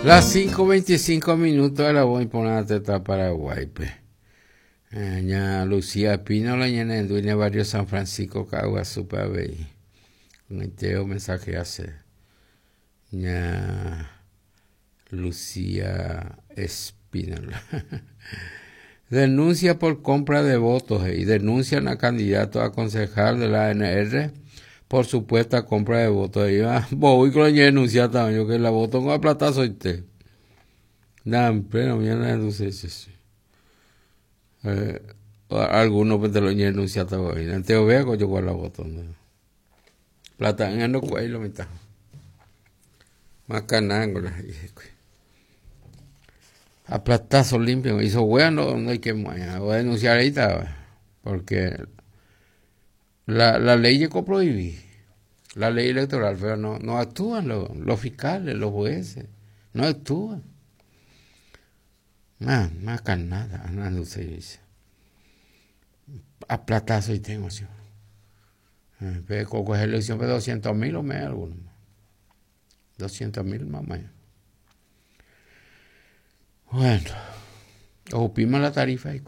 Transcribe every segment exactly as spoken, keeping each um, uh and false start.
Las cinco veinticinco minutos de la voz importante está Paraguay. Ña Lucía Espínola, ñane barrio San Francisco, Caaguazú, avei. Un mensaje hace. Ña Lucía Espínola. Denuncia por compra de votos y denuncian a candidato a concejal de la A N R por supuesta compra de votos. Y va, voy con la denuncia también, yo que la voto con la plata soy usted. Nada, pero mira la denuncia. Eh, algunos pues te lo denuncian todavía. Antes yo veo que yo con la voto. ¿No? Plata en el cuello, mitad. Más canángola. A platazo limpio. Hizo bueno, no hay que voy a denunciar ahorita, porque la, la ley llegó a prohibir, la ley electoral, pero no, no actúan los, los fiscales, los jueces, no actúan. Más, más canada, no se dice. A platazo y tengo, sí. Pero con elección de doscientos mil o menos algunos. doscientos mil más o menos. Bueno, ocupimos la tarifa ahí.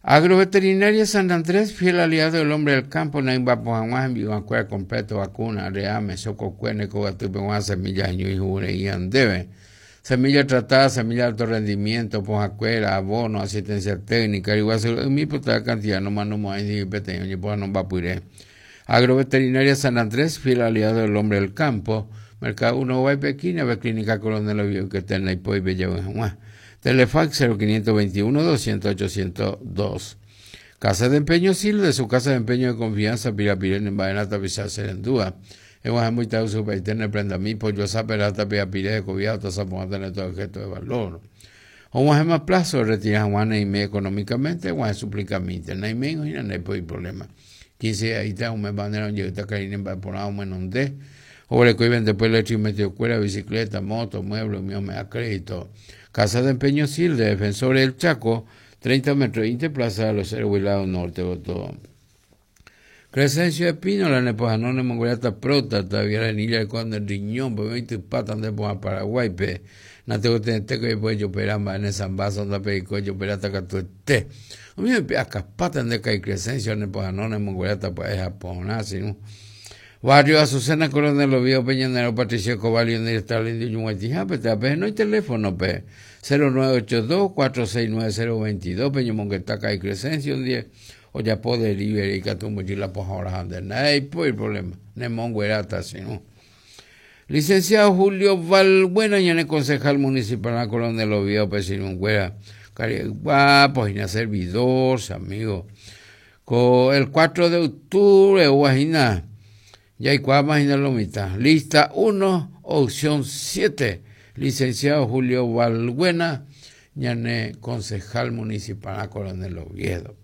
Agroveterinaria San Andrés, fiel aliado del hombre del campo, Naimba Pojaguá, en Vivancuera completo, vacuna, reame, sococuene, cogatupe, semilla, ñu y jure y andebe. Semilla tratada, semilla de alto rendimiento, pojacuera, abono, asistencia técnica, igual, mi puta cantidad, no más no más, ni peteño, ni poja no va puré. Agroveterinaria San Andrés, fiel aliado del hombre del campo, Mercado uno va y Pequina, ve Clínica Coronel Oviedo, que está en la Hipo y Bella Juan. Telefax cero quinientos veintiuno, doscientos, ochocientos dos. Casa de Empeño Sil, de su casa de empeño de confianza, Pirapirén en Baenata, Pisa, Serendúa. Hemos muy tarde su paitene, prenda mi, pollo, zaperata, Pirapiré, de Cobiato, Zapoate, todo objeto de valor. O más plazo, retira Juan y me económicamente, Juan suplicamente, no hay menos y no hay problema. quince ahí está, un mes bandera, un llegó a en por un menos de. Obre que vende después leche y metió cuera, bicicleta, moto, mueble, mío me da crédito. Casa de Empeño Sil, de Defensores del Chaco, treinta metros, veinte, Plaza de los Héroes, lado norte, todo. Crescencio Espínola, Nepojanone, Mongoliata, Próstata, Viarenilla, cuando el riñón, pues veinte patas de Paraguay, pe. No tengo que tener que después yo peramba en esa base donde perico yo perata que tú estés. A mí me pega patas de cae Crescencio, Nepojanone, Mongoliata, pues Japón, así, ¿no? Barrio Azucena, Coronel Oviedo, Peñanero, Patricio Escobar, y Stalin, de no hay teléfono, pe. cero nueve ocho dos, cuatro seis nueve cero veintidós, Peño Monguetaca y Crescencio, un día, o ya puedo delivery, y catumbo, y la poja ahora, ande, nadie puede el problema, ne monguerata, sino. Licenciado Julio Valbuena, ya en concejal municipal, la Coronel Oviedo, Peño guapo, y servidor, amigo. Con el cuatro de octubre, guajina. Ya hay cuatro más en la mitad. Lista uno, opción siete. Licenciado Julio Valbuena, ñane concejal municipal a Coronel Oviedo.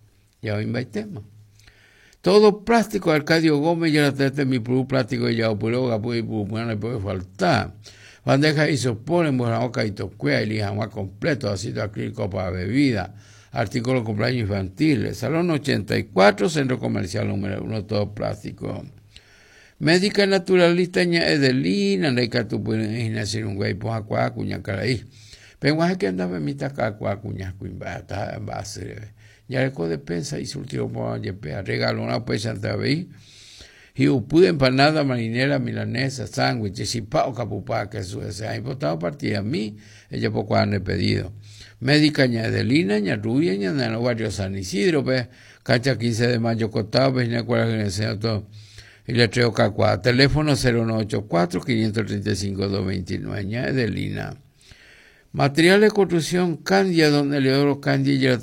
Ya hoy va tema. Todo plástico, Arcadio Gómez, ya la tete mi pru plástico y ya opuró, gapu y pu, no le puede faltar. Bandeja y soponen, buena y tocuea, y lija completo, ácido acrílico para bebida, artículo de cumpleaños infantiles, Salón ochenta y cuatro, Centro Comercial número uno, todo plástico. Médica naturalista ña Edelina, neika tu pueden hacer un güey poja cuá cuña caraí. Pero que andaba en mitad cuá cuña cuimbata base. Ya le de pensa y surtió por yepea regalo una pues santa vei. Y upude empanada marinera milanesa sándwich y pao capupá que su se ha importado partida a mí ella poco han pedido. Médica ña Edelina ña Rubia ña en el barrio San Isidro pe cancha quince de mayo costado pe ña cuál es todo. Y le traigo cacua. Teléfono cero uno ocho cuatro, quinientos treinta y cinco, doscientos veintinueve, ña Edelina. Material de construcción Candia, donde Leodoro Candia y